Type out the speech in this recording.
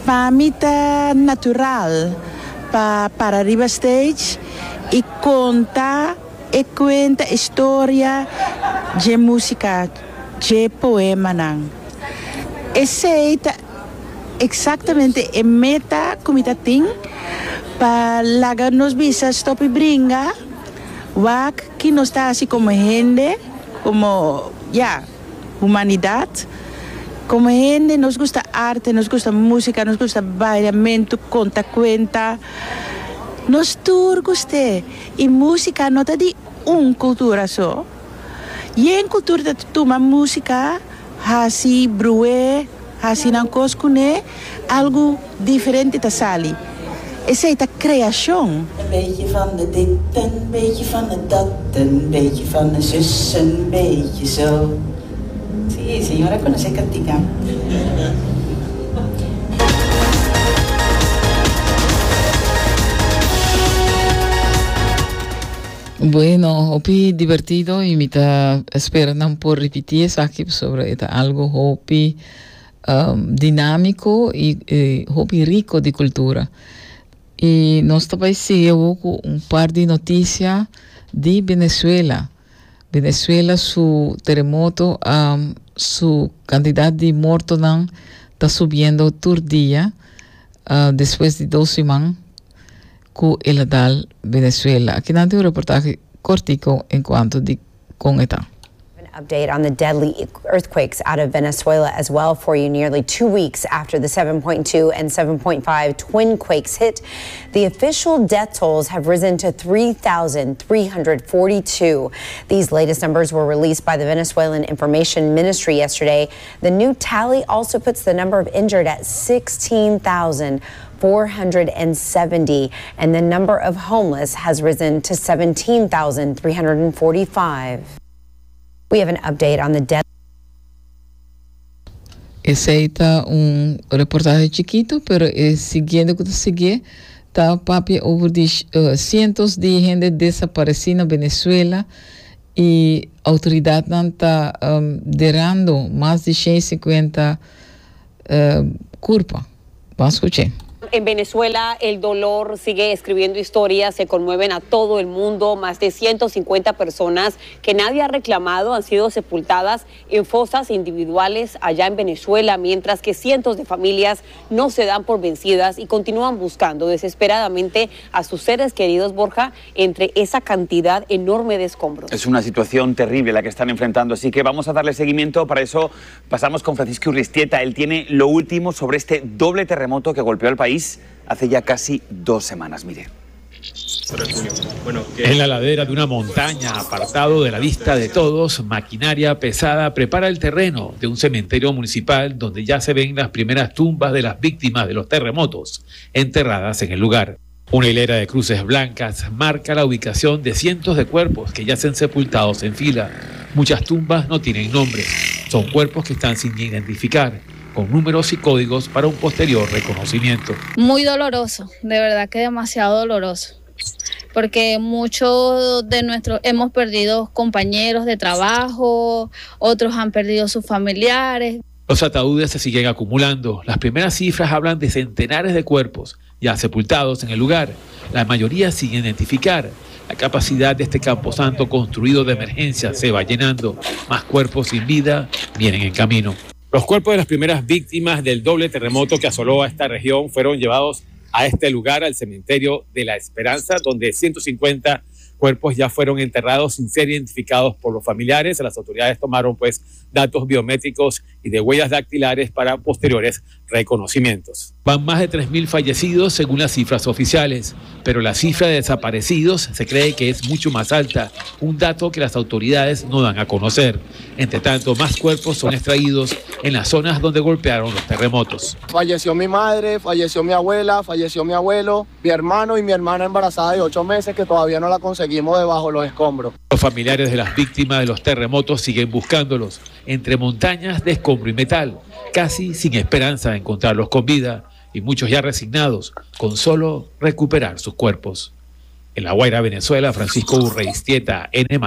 Pa mi ta natural pa para riba stage i konta e kuenta, e storia dje músika, dje poemanan. Esei ta eksaktamente e meta ku mi ta tin pa laga nos bisa stop i bringa, wak ki nos ta hasi komo hende, komo, ya, humanidat. Komo hende nos gusta arte, nos gusta músika, nos gusta bailamentu, konta kuenta. Nos tur gust'é. I músika no ta di un kultura so. Yen kultura ta tuma músika, hasi bru'é, hasi nan kos kuné, algu diferente ta sali. Esei ta kreashon. Een beetje van de dit, een beetje van de dat, een beetje van de zus, een beetje zo. Sí, señora conoce cantica. Bueno, hopi divertido y mi ta espera nan por repiti esaki pasobra e ta algo hopi um, dinámico y eh, hopi rico di cultura. Y nos ta bai sigui awo cu un par di noticia di Venezuela. Venezuela su teremoto a su cantidad di mortonan ta subiendo tur dia uh, despues di dos siman cu el a dal Venezuela. Aki nan tin un reportahe cortico en cuanto di con e ta. An update on the deadly earthquakes out of Venezuela as well for you nearly two weeks after the 7.2 and 7.5 twin quakes hit. The official death tolls have risen to 3,342. These latest numbers were released by the Venezuelan Information Ministry yesterday. The new tally also puts the number of injured at 16,470 and the number of homeless has risen to 17,345. We have an update on the death. Esei ta un reportahe chikito, pero e siguiente ku ta siguié ta papia over di cientos di hende desaparesí na Venezuela i outoridatnan ta derando mas di 150 kurpa. Ban skuch'é. En Venezuela el dolor sigue escribiendo historias que conmueven a todo el mundo. Más de 150 personas que nadie ha reclamado han sido sepultadas en fosas individuales allá en Venezuela, mientras que cientos de familias no se dan por vencidas y continúan buscando desesperadamente a sus seres queridos, Borja, entre esa cantidad enorme de escombros. Es una situación terrible la que están enfrentando, así que vamos a darle seguimiento. Para eso pasamos con Francisco Urreiztieta. Él tiene lo último sobre este doble terremoto que golpeó al país hace ya casi dos semanas. Mire. En la ladera de una montaña, apartado de la vista de todos, maquinaria pesada prepara el terreno de un cementerio municipal donde ya se ven las primeras tumbas de las víctimas de los terremotos enterradas en el lugar. Una hilera de cruces blancas marca la ubicación de cientos de cuerpos que yacen sepultados en fila. Muchas tumbas no tienen nombre. Son cuerpos que están sin identificar, con números y códigos para un posterior reconocimiento. Muy doloroso, de verdad que demasiado doloroso, porque muchos de nuestros hemos perdido compañeros de trabajo, otros han perdido sus familiares. Los ataúdes se siguen acumulando. Las primeras cifras hablan de centenares de cuerpos ya sepultados en el lugar, la mayoría sin identificar. La capacidad de este camposanto construido de emergencia se va llenando. Más cuerpos sin vida vienen en camino. Los cuerpos de las primeras víctimas del doble terremoto que asoló a esta región fueron llevados a este lugar, al cementerio de la Esperanza, donde 150 cuerpos ya fueron enterrados sin ser identificados por los familiares. Las autoridades tomaron pues datos biométricos y de huellas dactilares para posteriores reconocimientos. Van más de 3.000 fallecidos según las cifras oficiales, pero la cifra de desaparecidos se cree que es mucho más alta, un dato que las autoridades no dan a conocer. Entre tanto, más cuerpos son extraídos en las zonas donde golpearon los terremotos. Falleció mi madre, falleció mi abuela, falleció mi abuelo, mi hermano y mi hermana embarazada de 8 meses que todavía no la conseguimos debajo de los escombros. Los familiares de las víctimas de los terremotos siguen buscándolos entre montañas de escombro y metal, casi sin esperanza de encontrarlos con vida y muchos ya resignados con solo recuperar sus cuerpos. En La Guaira, Venezuela, Francisco Urreiztieta, N+.